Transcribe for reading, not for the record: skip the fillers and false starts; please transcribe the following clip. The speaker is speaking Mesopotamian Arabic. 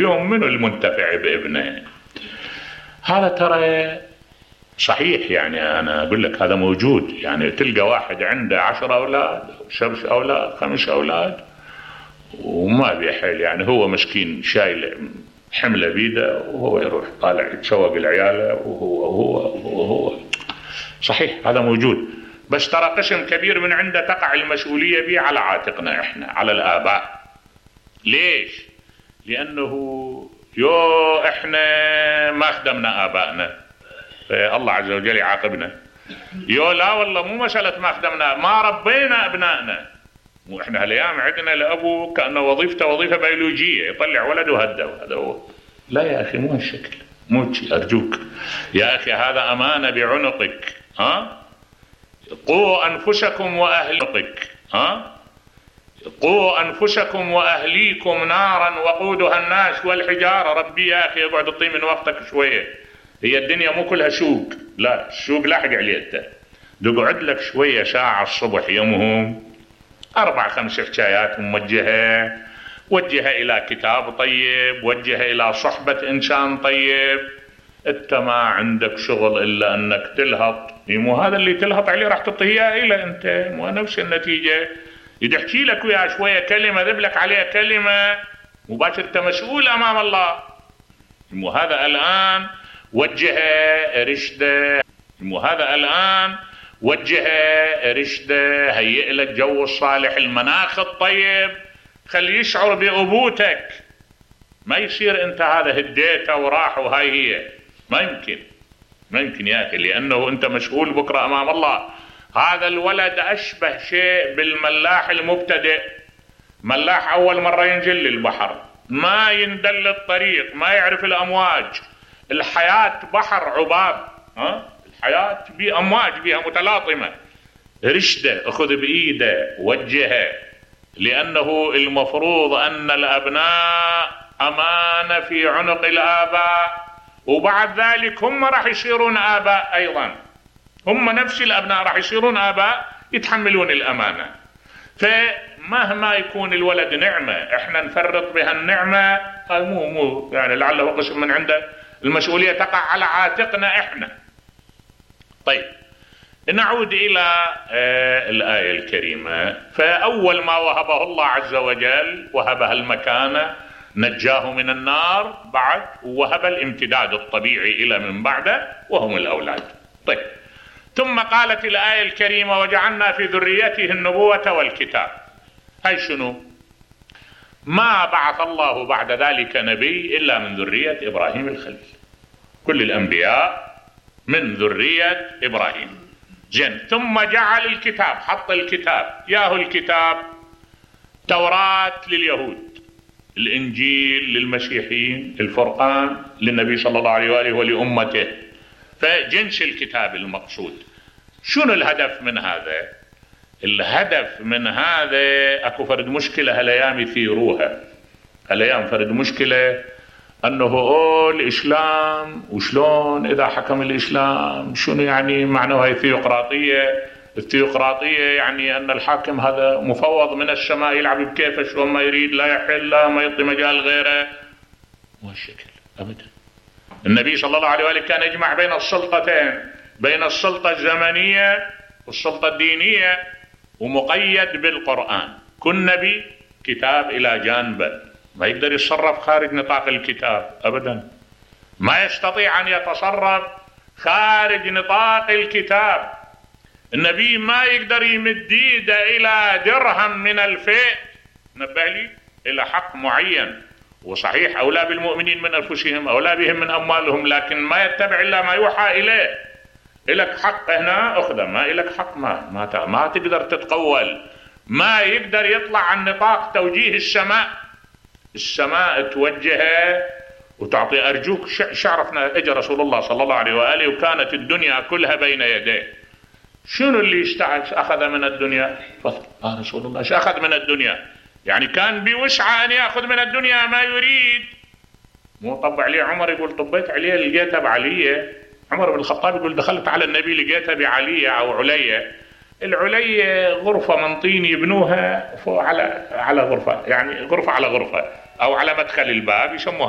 اليوم منو المنتفع بابنه؟ هذا ترى صحيح، يعني أنا أقول لك هذا موجود. يعني تلقى واحد عنده 10 أولاد 7 أولاد 5 أولاد وما بيحل، يعني هو مسكين شايل حملة بيده وهو يروح طالع يتشوق العيالة وهو صحيح هذا موجود. بس ترى قسم كبير من عنده تقع المسؤولية به على عاتقنا احنا، على الآباء. ليش؟ لأنه احنا ما خدمنا آبائنا، الله عز وجل يعاقبنا. لا والله مو مسألة ما خدمنا، ما ربينا أبنائنا. واحنا هالايام عندنا الأبو كأنه وظيفته وظيفة بيولوجية، يطلع ولد وهذا هو. لا يا أخي مو هالشكل، مو أرجوك يا أخي، هذا أمانة بعنقك. قوا أنفسكم وأهليكم قوا أنفسكم وأهليكم نارا وقودها الناس والحجارة. ربي يا أخي اقعد اطي من وقتك شوية، هي الدنيا مو كلها سوق، لا السوق لاحق عليه انت. تقعد لك شوية ساعة الصبح يومهم 4-5 حكايات موجهة، وجهها إلى كتاب طيب، وجهها إلى صحبة إنسان طيب. انت ما عندك شغل إلا أنك تلهط، مو هذا اللي تلهط عليه راح تعطيه إلى أنت، مو نفس النتيجة. يدحكي لك ويا شوية كلمة ذبلك عليها كلمة مباشر انت مسؤول أمام الله. مو هذا الآن وجهه رشده، وهذا الآن وجهه رشده، هيئ لك جو الصالح، المناخ الطيب، خلي يشعر بأبوتك. ما يصير انت هذا هديته وراح وهاي هي، ما يمكن يا أخي، لأنه انت مسؤول بكرة أمام الله. هذا الولد أشبه شيء بالملاح المبتدئ، ملاح أول مرة ينزل للبحر، ما يندل الطريق، ما يعرف الأمواج. الحياة بحر عباب، الحياة بأمواج بها متلاطمة. رشده أخذ بإيده وجهه، لأنه المفروض أن الأبناء أمانة في عنق الآباء، وبعد ذلك هم راح يصيرون آباء أيضا، هم نفس الأبناء راح يصيرون آباء يتحملون الأمانة. فمهما يكون الولد نعمة احنا نفرط بها النعمة، هاي مو يعني لعله قسم من عنده المسؤولية تقع على عاتقنا احنا. طيب نعود إلى الآية الكريمة. فأول ما وهبه الله عز وجل وهبها المكانة، نجاه من النار، بعد وهب الامتداد الطبيعي إلى من بعده وهم الأولاد. طيب ثم قالت الآية الكريمة وجعلنا في ذريته النبوة والكتاب. هاي شنو؟ ما بعث الله بعد ذلك نبي إلا من ذرية إبراهيم الخليل، كل الأنبياء من ذرية إبراهيم. زين، ثم جعل الكتاب، حط الكتاب، ياهو الكتاب توراة لليهود، الإنجيل للمسيحيين، الفرقان للنبي صلى الله عليه وآله ولأمته. فجنس الكتاب المقصود. شنو الهدف من هذا؟ الهدف من هذا اكو فرد مشكلة هالايام يثيروها، هالايام فرد مشكلة انه الاسلام وشلون اذا حكم الاسلام، شنو يعني معناها الثيوقراطية؟ الثيوقراطية يعني ان الحاكم هذا مفوض من السماء يلعب بكيفه شلون ما يريد، لا يحل لا ما يعطي مجال غيره. مو هالشكل ابدا. النبي صلى الله عليه وآله كان يجمع بين السلطتين، بين السلطة الزمنية والسلطة الدينية، ومقيد بالقرآن. كل نبي كتاب إلى جانبه، ما يقدر يتصرف خارج نطاق الكتاب أبدا، ما يستطيع أن يتصرف خارج نطاق الكتاب. النبي ما يقدر يمد يده إلى درهم من الفيء، نبه لي، إلى حق معين. وصحيح أولى بالمؤمنين من أنفسهم، أولى بهم من أموالهم، لكن ما يتبع إلا ما يوحى إليه. إلك حق هنا أخذه، ما إلك حق ما تقدر تتقول، ما يقدر يطلع عن نطاق توجيه السماء توجهه وتعطي. أرجوك شعرفنا اجى رسول الله صلى الله عليه وآله وكانت الدنيا كلها بين يديه. شنو اللي أخذ من الدنيا؟ رسول الله ايش أخذ من الدنيا؟ يعني كان بوسعه أن يأخذ من الدنيا ما يريد. مو طب عليه عمر يقول طبيت عليه لقيتها بعلية. عمر بن الخطاب يقول دخلت على النبي لقيتها بعلية أو علية. العلية غرفة من طين يبنوها على غرفة، يعني غرفة على غرفة أو على مدخل الباب يسموها